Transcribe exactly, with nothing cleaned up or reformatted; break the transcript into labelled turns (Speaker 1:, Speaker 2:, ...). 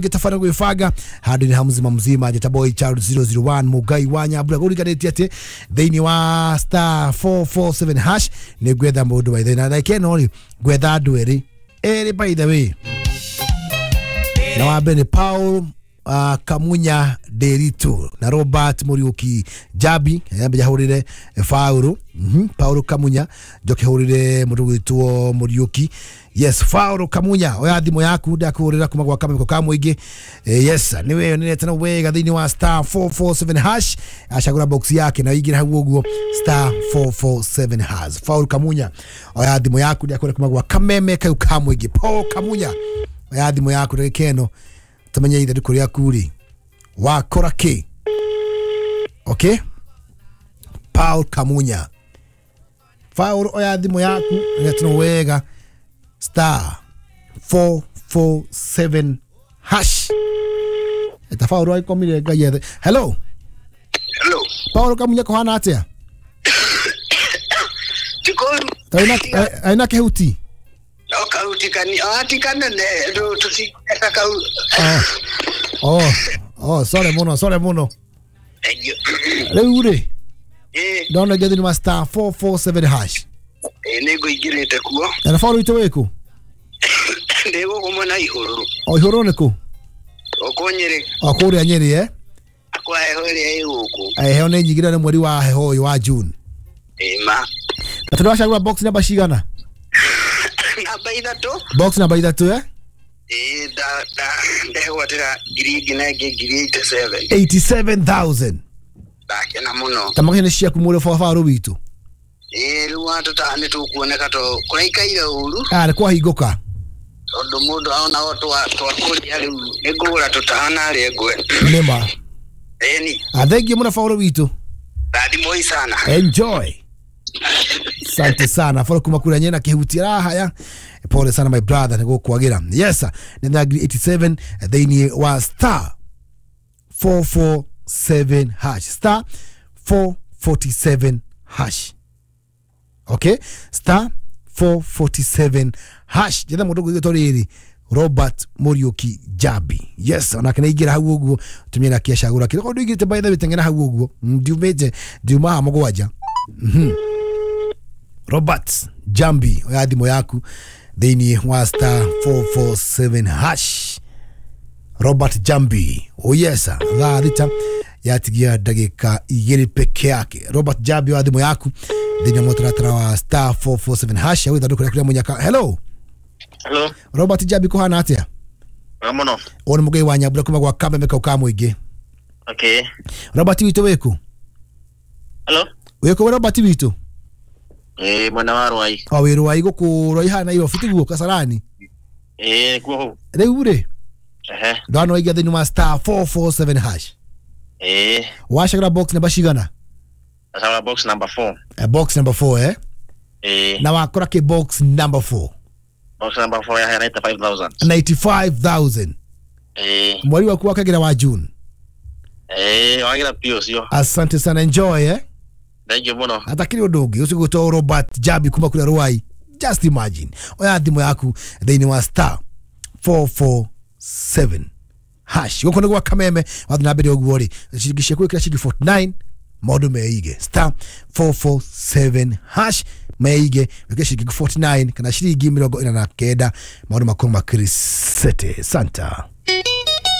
Speaker 1: Gĩtabana gwĩbanga handũ-inĩ ha mzima mzima njĩta boy child zero zero one Mugai wa Nyambura gũriganĩtie atĩ thĩinĩ wa star four four seven hash nĩ ngwetha mũndũ wa ithĩ na ndagĩka ĩno rĩ ngwetha andũ erĩ erĩ by the way na wa mbere nĩ Paul uh, Kamunya Nderitu na Robert Muriuki Jabi yambe jahurire Faulu mm -hmm. Paul Kamunya njoke hurire mundu gwitwo Muriuki. Yes, Faulu Kamunya oya thimu yaku ndakuhurira kuma gwa kameko ka muingi. Yes, niwe yonete na wega thiini wa star four four seven hash acagura box yake na ingira hau uguo star four four seven hash. Faulu Kamunya oya thimu yaku ndakuhurira kuma gwa kameme kau ka muingi. Paul Kamunya oya thimu yaku ndagikeno tumenye ithandũkũ rĩaku rĩ wakora kĩ. Okay, Paul Kamunya Paul oya thimũ yaku nĩtino wega star four four seven hash eta Paul aikomire Ngai ethe. Hello,
Speaker 2: hello
Speaker 1: Paul Kamunya kuhana atia?
Speaker 2: Tikoru
Speaker 1: aina aina kehuti
Speaker 2: no kahuti kani ati kanene ndo tutikeka kau.
Speaker 1: Oh oh sorry muno sorry muno riu ri
Speaker 2: eh
Speaker 1: ndona ngethi ni star four four seven hash
Speaker 2: eh nego igirite kuo
Speaker 1: na Paul itu wiku
Speaker 2: ndego kumona ihuru
Speaker 1: o ihuru niku
Speaker 2: o konyere
Speaker 1: o kuria Nyeri eh
Speaker 2: kwa heho ria iguku
Speaker 1: eh heho ni nyingira ni mweri wa heho uyu wa June
Speaker 2: eh ma
Speaker 1: na tunawacagura box namba cigana?
Speaker 2: Namba ithatu.
Speaker 1: Box namba ithatu eh?
Speaker 2: Eh da da ndegwatira ngiri ingĩ na ingĩ ngiri eighty-seven.
Speaker 1: eighty-seven thousand.
Speaker 2: Ndakena muno.
Speaker 1: Tamake nĩ ciaku mũrĩ baba rũ witũ.
Speaker 2: Eh rĩu andũ ta nĩ tũkuoneka to kũraikaire ũru.
Speaker 1: Ah nĩ kwahingũka.
Speaker 2: Tondũ mũndũ aona o twa twakũria rĩu nĩ ngũgũra tũtahana harĩa ngwe.
Speaker 1: Nĩma.
Speaker 2: Ĩni.
Speaker 1: Ah thank you mũno baba rũ witũ.
Speaker 2: Rathimoi sana.
Speaker 1: Enjoy. Asante sana Foro kuma kura nyena kihuti raha ya pole sana my brother niko kuagira. Yes, ni eighty-seven thĩinĩ wa star four four seven hash star four forty-seven hash. Okay, star four forty-seven hash jetha mundu gwitwo riri Robert Muriuki Jabi. Yes, onake nĩ ingĩra hau ũguo tumie na kiacagura kĩrĩa kondu ingĩrĩte by the way tengena hau ũguo ndiumĩte ndiuma mũgwanja. Mhm. Robert Jambi oya thimũ yaku thĩinĩ wa star four four seven hash Robert Jambi. Oh yes, thaa thita yatigia ndagĩka igĩrĩ peke yake. Robert Jambi oya thimũ yaku thĩinĩ wa mũtaratara wa star four four seven hash ya ithandũkũ rĩaku rĩa mũnyaka. Hello.
Speaker 3: Hello
Speaker 1: Robert Jambi kuhana atia?
Speaker 3: Wega mũno.
Speaker 1: Ũyũ nĩ Mũgai wa Nyambura kuma gwa Kameme kau ka mũingĩ.
Speaker 3: Okay.
Speaker 1: Robert witũ wĩkũ?
Speaker 3: Hello.
Speaker 1: Wĩkũ Robert witũ?
Speaker 3: Eh mwena wa Rwai.
Speaker 1: O wĩ Rwai gũkũ Rwai hana Nairobi tiguo Kasarani?
Speaker 3: Eh kuo hau.
Speaker 1: Rĩu rĩ?
Speaker 3: Ehe.
Speaker 1: Ndona waiga thĩinĩ wa star four four seven hash.
Speaker 3: Eh.
Speaker 1: Wacagũra box namba cigana?
Speaker 3: Wacagũra box number four.
Speaker 1: Eh, box number four eh?
Speaker 3: Eh.
Speaker 1: Na wakora ke box number four.
Speaker 3: Box number four ya ninety-five thousand.
Speaker 1: ninety-five thousand.
Speaker 3: Eh.
Speaker 1: Mweri waku wakagira wa June.
Speaker 3: Eh, wagira pio sio.
Speaker 1: Asante sana, enjoy eh.
Speaker 3: Thank you muno.
Speaker 1: Atakiri undu ungi ucio gwitwo Robert Jabi kuma kuria Rwai. Just imagine. Oya thimu yaku thĩinĩ wa star four four seven hash. Gũkũ nĩ gwa Kameme wathiĩ na mbere ũguo rĩ ciringi ciaku ĩkĩra ciringi forty-nine maũndũ meige star four four seven hash meige wĩkĩre ciringi forty-nine kana ciringi mĩrongo ĩna na kenda maũndũ makorwo makĩrĩ sete. Santa.